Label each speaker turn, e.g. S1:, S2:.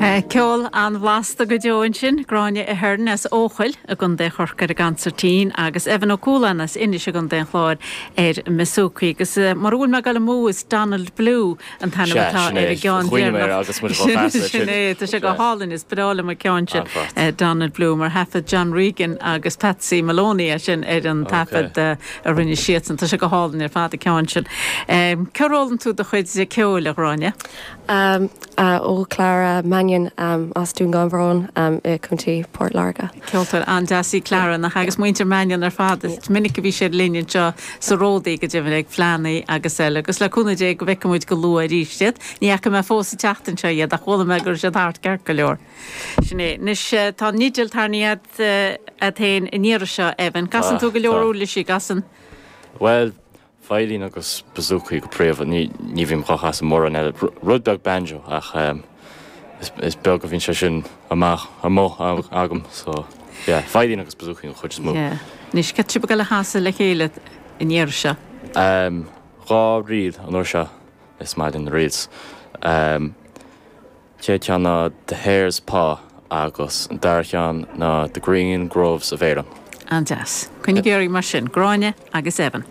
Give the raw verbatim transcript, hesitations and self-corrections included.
S1: Ceol an-bhlasta go deo ansin, Gráinne Ahern as Eochaill i gContae Chorcaí ar an gconsairtín agus Evan Ó Cualáin as Inis i gContae an Chláir ar an mboosócaí. Agus mura bhfuil mé ag dul amú is Donald Blue an t-ainm atá ar an gceann deireanach. Sin é, tá sé go hálainn is breá liom an ceann sin Donald Blue mar thaifead John Regan agus Patsy Maloney é sin ar an taifead a rinne siadsan. Tá sé go hálainn ar fad an ceann sin. Cár fhoghlaim tú do chuid ceoil, a Ghráinne?
S2: Um, uh, ó Clara Mannion um, as Dún Garbhán um, i Contae Port Láirge.
S1: Ceoltóir an-deas í Clara nach agus muintir Mannion ar fad is minic a bhí siad linn anseo sa Ródaí go deimhin ag fleánna agus eile, agus le cúnamh Dé go bhfeicfidh muid go luath arís iad. Ní fhaca mé fós an tseachtain seo iad ach chuala mé go raibh siad thart ceart go leor. Sin é. Anois tá an fhidil tarraingthe agat féin an iarraidh seo Evan. Casann tú go leor uirlisí casann?
S3: Well, veidhlín agus bouzouki go príomha ní ní bhím ag casadh mórán eile rud beag banjo ach um, is, is beag a bhíonn sé sin amach amuigh agam so yeah, veidhlín agus bouzouki an chuid is mó.
S1: Yeah. Anois cad tá sibh ag dul a chasadh le chéile an iarraidh seo.
S3: Um, dhá ríl an uair seo is maith linn na reels. Um, Chéad cheann ná The Hare's Paw agus an dara ceann ná The Green Groves of Erin.
S1: An-deas. Coinnigí oraibh mar sin, Gráinne agus Evan.